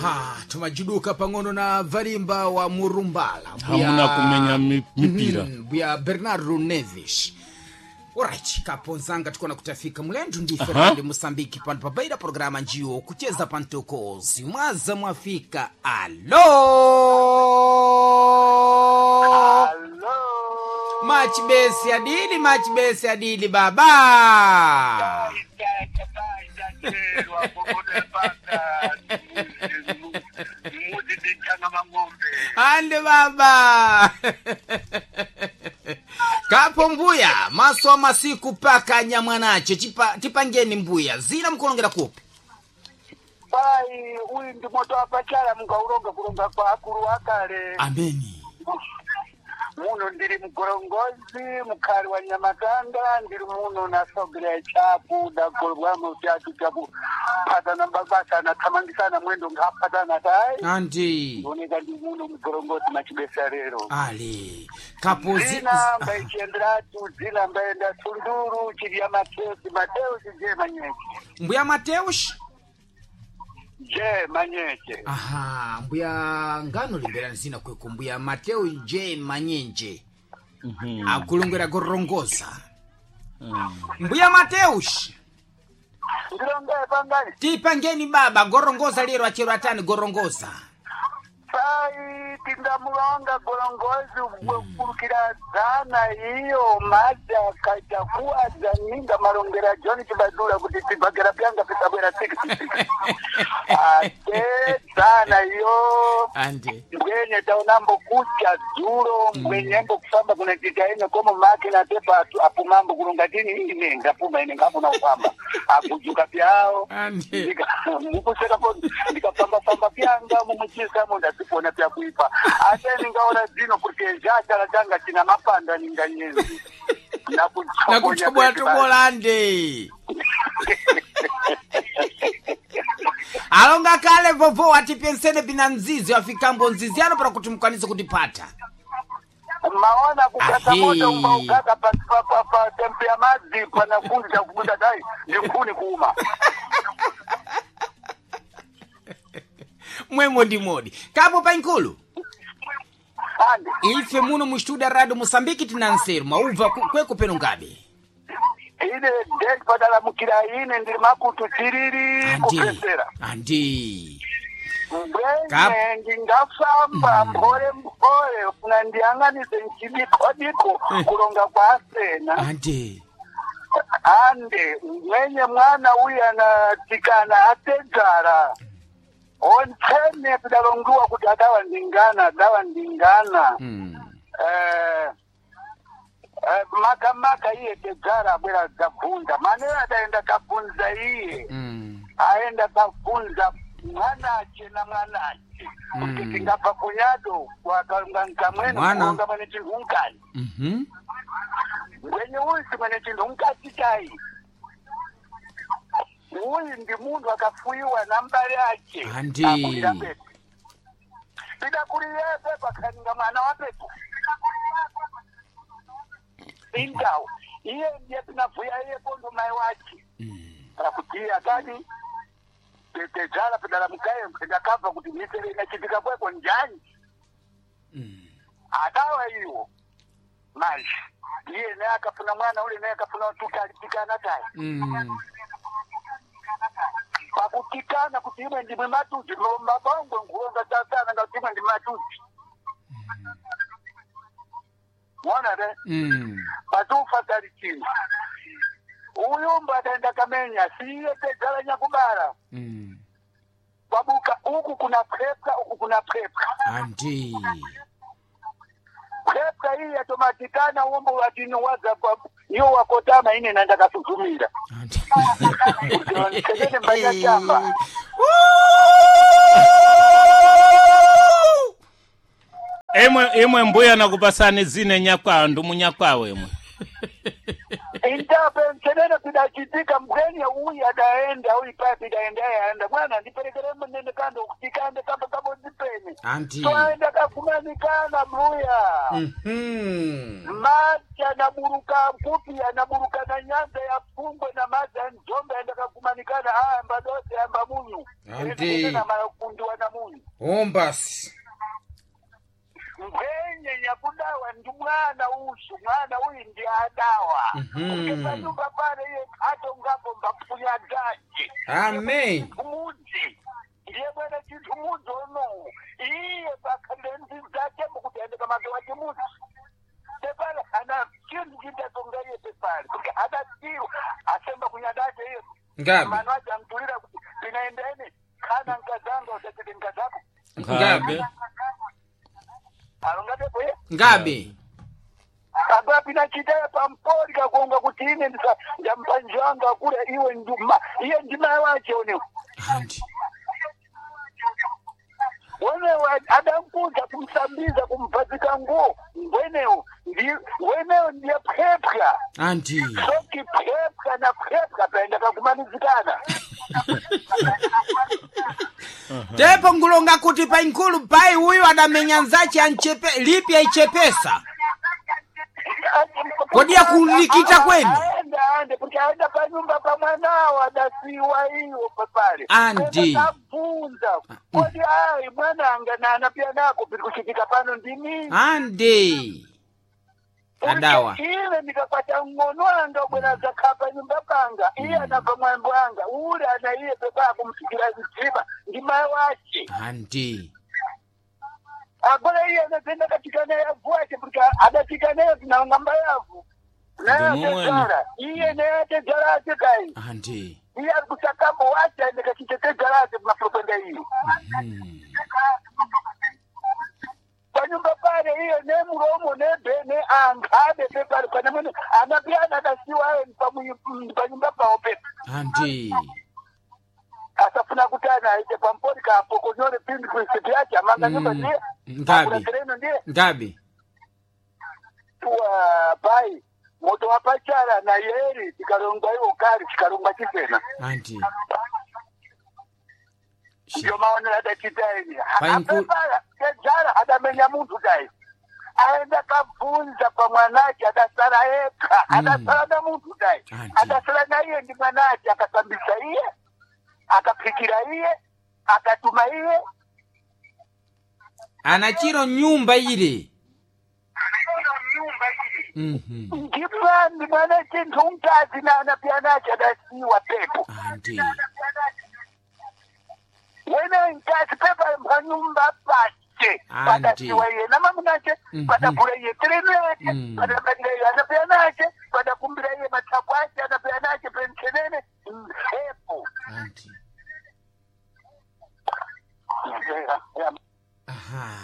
Aha, tumajiduka pang'ono na valimba wa Murumbala. Hamuna kumenya mipira. Mbuya Bernardo Neves. Alright, kaponzanga tikona kutafika mulendu ndi Fernando Mosambiki pano pabaira programa njiyo kucheza pantokozi mwaza mwafika alo. Alo. Machibesi adili machibesi adili baba. Ande baba. Kapo mbuya maso masiku paka nyamwanache tipangeni mbuya zina mkulongera kupi. Pai, uyu ndi moto wapachala mukauronga kulonga kwa akulu akale. Ameni. Muno ndiri mgorongozi mukhali wa nyamatanda ndiri muno nasogera chapu dagolwamo chatu chapu phatana mbabasa anathamangisana mwendo ngaphatana tayi Andi. ndioneka ndi muno mgorongozi machibesa lero. Ale. Kapo Zina mbaichienderatu zina mbaenda sunduru chilya mateusi mateusi je manyeche. Mbuya Mateus. Je manyeche. Aha, mbuya ngano limberani zina kweko mbuya Mateo J Manyenje. Akulongera gorongoza. Mbuya Mateus. Ndilonge pangani. Tipangeni baba gorongoza lero achero atani gorongoza. Pai tingamulonga gorongozi kulukira dzana iyo madzi akaita kuadza ninga malongera John Chibadura kuti tibhagera pyanga pisabwera 66 ate dzana iyo. Ande. Mbwenye taonambo kucha dzulo mbwenyembo kufamba kunachita ine komo make na tepa apumambo kulonga tini ine ngapuma ine ngapuna kufamba akujuka pyawo. Ande. Mukusekapo ndikafamba-famba pyanga mumuchisamo ndazipona pyakuipa ate ningaona dzino kuti zachala changa china mapanda ninga nyezi. Nakuchobola tobola ande. Alonga kale vovo atipensene pina nzizi afikambo nzizi ano para kuti mukwanise kutipata. Maona kukata Ahe. moto umbaukaka pa tempe ya madzi panakunja kubunda dai ndinkhuni kuuma. Mwemo ndi modi. Kapo pankulu. Ande. Ife muno mu studio radio Mosambiki tina nseru maubva kweko peno ngabe. Ine dei padalamukira ine ndiri makutu chiriri kupesera. Andi. Mbwenye ndingafamba mphole mphole funa ndiyang'anise nchidikodiko kulonga kwa asena. Andi. Ande mwenye mwana uyu anatikana atedzara ontsene pidalongiwa kuti adawa ndingana adawa ndingana. Eh, maka maka iye tedzara abwera kabvunza manera adaenda kabvunza iye. Aenda kabvunza mwanache na mwanache kuti tingabva kunyado wakalunga nkamwene Mwana. kulonga mwene chinthu unkani. Mbwenye uyu simwene chinthu unkati chai uyu ndi munthu akafuyiwa na mbale ache. Andi. Akulira pepo pidakuliyepe pakhaninga mwana wa pepo indawu iye ndiye pinavuya iye kondo mai wache pakuti iye akadi tetedzala pedalamukaye ndakabva kuti misere inachitika kweko njani. Adawa iwo manje iye naye akafuna mwana ule naye akafuna tukalitikana tayi. Pakutikana kuti imwe ndimwe matuzi mabongwe nkulonga tatana ngati imwe ndi matuzi mwana re. Patufa tali chino uyumba ataenda kamenya siye tedzala nyakubala. Kwabuka uku kuna prepka uku kuna prepka. Andi. Prepka iyi yatomatikana uombo watino waza iyo wakotama ine nanda kasuzumira. Andi. Kuti mbanya chamba. Imwe imwe mbuya nakupasani zine nyakwawo ndu munyakwawo imwe. Indawo. Agora pensenene pidachitika mgeni uyu adaenda uyu paya pidaenda yaenda mwana ndiperekere munene kando kutikande kamba kabodzi pene Anti. toaenda kakumanikana mbuya. Madzi anaburuka kupi anaburuka na nyanza ya pfungwe na madzi anzombe aenda kakumanikana ayamba dose amba munyu. Anti. Na makundiwa na munyu. Ombasi. Mbwenye nyakudawa ndi mwana usu mwana uyu ndi adawa. Panyumba pale iye atongapo mbafunya gaji. Amen. Mudzi ndiye mwene chinthu mudzi onowu iye pakhalire ndzi zake mukuti aende kamake wa chimudzi pepale ana chinthu chitatonga iye pepale kuti adasiwa asemba kunyadache iye. Ngabe. Mano ache amtulira kuti tinaendeni khana nkazanga usachite nkazako. Ngabe. Alongatepo iye. Ngabe. Apapi nachitaya pampori kakonga kuti ine ndampanjanga kule iwe nduma iye ndima wache onewo. Anti. Wenewo adamkuza kumsambiza kumvazika nguo ngwenewo wenewo ndiye phepha. Anti. Soki phepha na phepha paenda kakumanizikana. Tepo ngulonga kuti painkulu pai uyu adamenya nzache anchepe lipi aichepesa. Kodi yakulikita kwenu? Aenda ande kuti aenda panyumba pa mwanawo adasiwa iwo papale. Andi. Abvunza kodi ayi mwananga nana pia nako piri kuchitika pano ndini. Andi. Adawa. Ine ndikakwata ng'ono anga ubwera zakhapa nyumba panga iye anabva mwambo anga ule ana iye pepa kumsikira mdzima ndi mayi wace. Anti. Agora iye anazenda katika naye avu ace kuti adatika naye tinangamba yavu naye Ndimumweni. atedzara iye naye atedzara ace kai. Anti. Iye ari kusakambo wace aende kachitetedzara ace kumafurupenda iyo panyumba pale iyo nemuromo nebhene angabe pepari pane mwene anapiyana akasiwa aye panyumba pawo pepa. Anti. Asafuna kuti ana aite pampori kapokonyore pindi kuisiti yache amanga nyumba ndiye. Ngabe. Akulatereno ndiye. Ngabe. Tuwa pai moto wapachara na yeri tikalongwa iwo kari tikalongwa chisena. Anti. Ndiyo maonero adachita ini. Painku- Apepara tedzara adamenya munthu dai aenda kabvunza pamwanache adasara ega adasara na munthu dai. Anti. Adasara na iye ndi mwanache akasambisa iye akaphikira iye akatuma iye. Anachiro nyumba ile. Ndimwani mwana chinthu mkazi na anapiyanache adasiwa pepo. Anti. Wene mkazi pepa panyumba pache. Anti. Padasiwa iye namamunache. Padagula iye terenu yache. Padabadira iye anapiyanache padakumbira iye matsapo ache anapiyanache pensenene mphepo. Anti. Aha.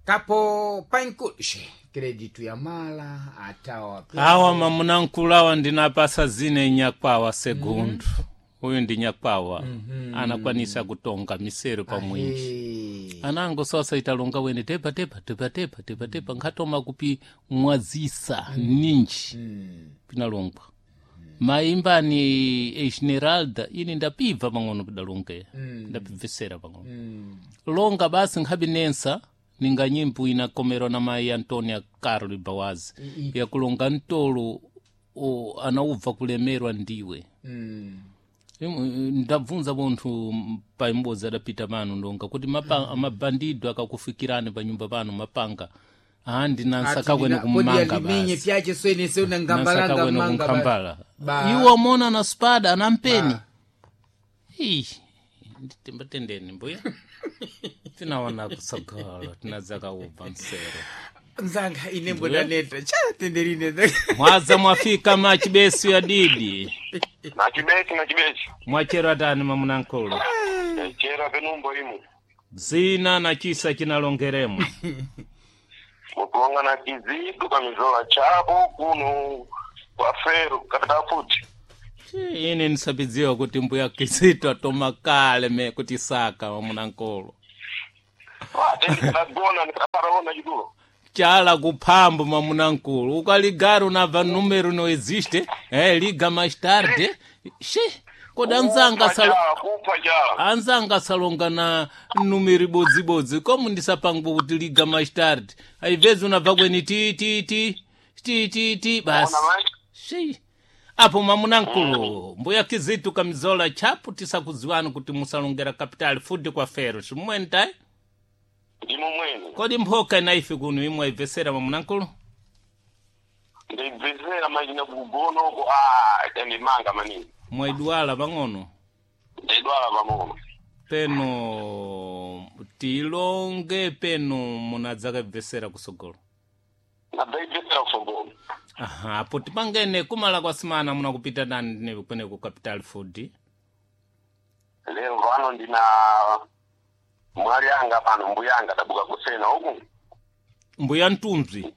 Kapo painkulu. She, kreditu ya mala atawa. Awa mamunankulu awa ndinapasa zine nyakwawa segundo. Uyu ndi nyakwawa. Anakwanisa kutonga misero pamwinji. Anango sasa italonga wene tepa tepa tepa tepa tepa tepa nkhatoma kupi mwazisa ninji pinalongwa maimbani esmeralda ini ndapibva pang'ono pidalongeya ndapibvesera pang'ono longa basi nkhapi nensa ninga nyimbo inakomerwa na mayi antonia carlo bawazi yakulonga mtolo anaubva kulemerwa ndiwe. Ndabvunza munthu paimbodzi adapita pano ndonga kuti mabandido akakufikirani panyumba pano mapanga andi nansakakwene kumanga limenye basi pyache swene sona ngambalanga nansakakwene manga kunkhambala iwo mona na spada anampeni. Ih, nditembatendeni mbuya tinaona kusagala tinadzakaubva msero. Nzanga ine mbonaneta chatenderine. Mwaza mwafika machibesu ya didi. Nachibesi nachibesi. Mwachero atani mamunankulu? Chera penumbo imu. Zina na chisa chinalongeremo. Mukuonga na kizitu kamizola chapo kuno kwa feru katika futi. Ine ndisapidziwa kuti mbuya kizito atoma kale me kuti saka mamunankulu. Ate ndikadagona ndikaparaona chitulo. Chala kuphambo mamunankulu ukaligara unabva numero no existe liga mais tarde she kodi anzanga Kupha chala, kupha chala. anzanga asalonga na numero ibodzibodzi komu ndisapangwa kuti liga mais tarde aibvezi unabva kweni ti ti ti ti ti ti basi Ona mai. shi apo mamunankulu mbuya kizitu kamizola chapu tisakudziwani kuti musalongera capital futi kwa fero simumweni tayi Ndimo mwene. kodi mphoka inaife kuno imwe aibvesera mamunankulu Ndibvesera machina kugonoko ah ndimanga maningi. mwaidwala pang'ono Ndidwala pang'ono. peno tilonge peno munadzakabvesera kusogolo Nadaibvesera kusogolo. aha apo tipangene kumala kwa simana munakupita nani ndine kwene ku capital food Lero pano ndina mwali anga pano mbuya anga dabuka kusena uku. mbuya mtumzi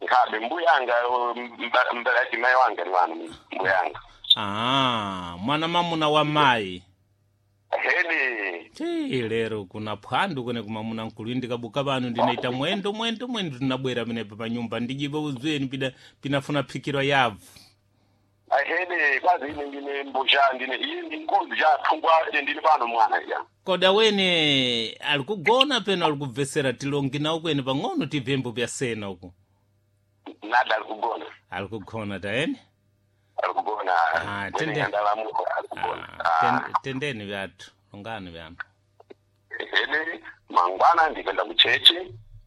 Nkhabe mbuya anga mbala yati mai wanga ni wanu mbuya anga. ah mwana mamuna wa mayi Hedi ti lero kuna phwandu kwene kumamuna nkulu indikabuka pano ndinaita mwendo mwendo mwendo ndinabwera penepa pa nyumba ndijipa uzweni pida pinafuna phikirwa yavu ahede kwazi ine ndine mbusha ndine iye ndi nkozi ja thungwa ndine pano mwana ya. koda wene ali kugona peno ali kubvesera tilongi nawo kwene pang'ono tibvembo pya sena uku Nada alikugona. ali kugona taene Alikugona. Ah, Mwene tende. ndalamuko alikugona. Ah, Ah. tendeni vyathu longani vyanu Hede mangwana ndipenda kuchechi.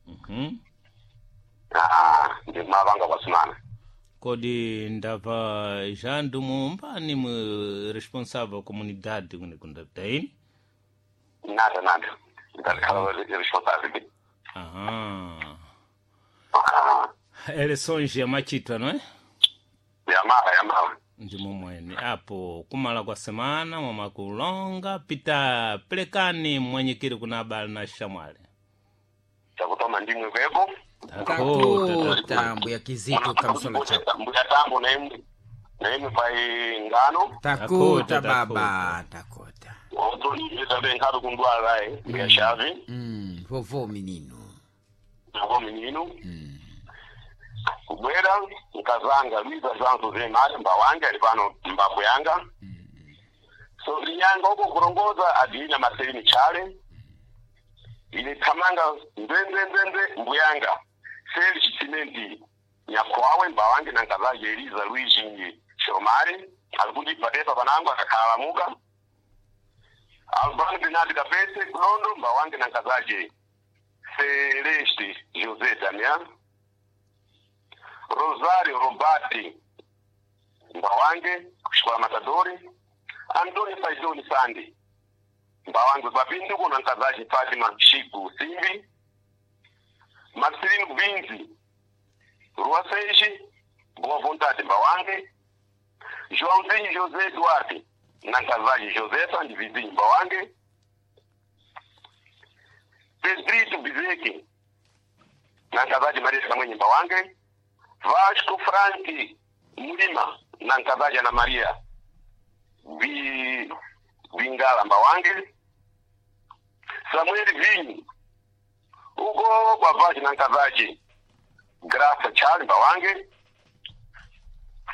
Mhm. Ah, ndimavanga kwasimana. kodi ndabva jandu mumbani mu responsável comunidade kune kundataini Nada nada. Ndakhala responsibility. aha Ah, eleições yamachitwa não é yamala yamala. ndimo mwene apo kumala kwa semana mwamakulonga pita pelekani mwanyikiri kuna abale na shamwali Chakutoma ndimwe kwepo. Takuta mbuya Kizito Kamisola Chapu. Mbuya tambo na imwe. Na imwe pai ngano. Takuta Takuta, baba, takuta. Otonita nkhabe kundwala eh. Mbuya shavi. Vovô menino. Nako menino. Kubwera nkazanga Luiza João José Mário mbawange ali pano mbabwe yanga. So linyanga uko kurongoza adina Marcelino Chale. Ile thamanga ndwendwendwendwe mbuyanga. Seli chisimenti nyakwawe mbawange na nkazaje Eliza Luigi Shomari alikundi patepa panangu akakhalamuka. Albano Bernardo Kapese kulondo mbawange na nkazaje Celeste José Damian Rosario Robati Mbawange kushikola Matadori Antônio Faizoni Sandi Mbawange Papinduko na nkazaji Fatima Chiku Simbi Marcelino Vinzi Rua Seiji Boa Vontade Mbawange Joãozinho José Duarte na nkazaji Josefa ndi Vizinho Mbawange Pedrito Bizeke na nkazaji Maria Kamwenye Mbawange Vasco Frank Mulima na nkazaji Ana Maria Bingala Mbawange Samuel Vinyi uko kwa Vaji na nkazaji Graça Charles Mbawange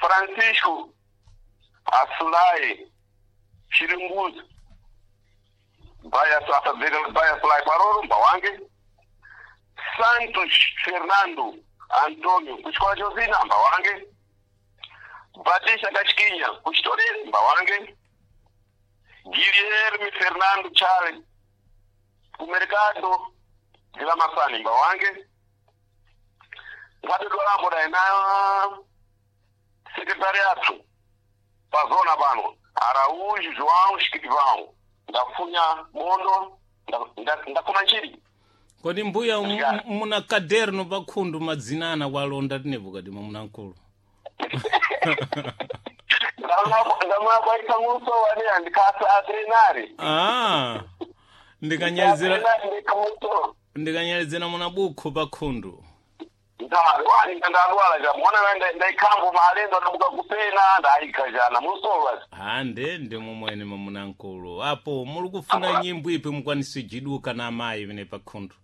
Francisco Asulai Chiringuzo Baya Baya Sulai Paroro Mbawange Santos Fernando Antônio kuchikola Josina Mbawange Batista Kashikinya kuchitorere Mbawange Guilherme Fernando Charles kumercado de la Masani Mbawange Ngati daina secretariato pazona pano Araújo João Escrivão ndafunya bondo ndakoma nchiri kodi mbuya muna kaderno pakhundu madzinana walonda tinepo kadi mamunankulu ndamwakwaita muso wani andikasa atrenari ah ndikanyalizira ndikamuso ndikanyalizira muna bukhu pakhundu ndalwani ndalwala ja mwana ndaikambo maalendo ndabuka kupena ndaika jana musowa hande ndimo mwene mamunankulu apo muli kufuna nyimbo ipi mukwanisa ijiduka na amayi pene pakhundu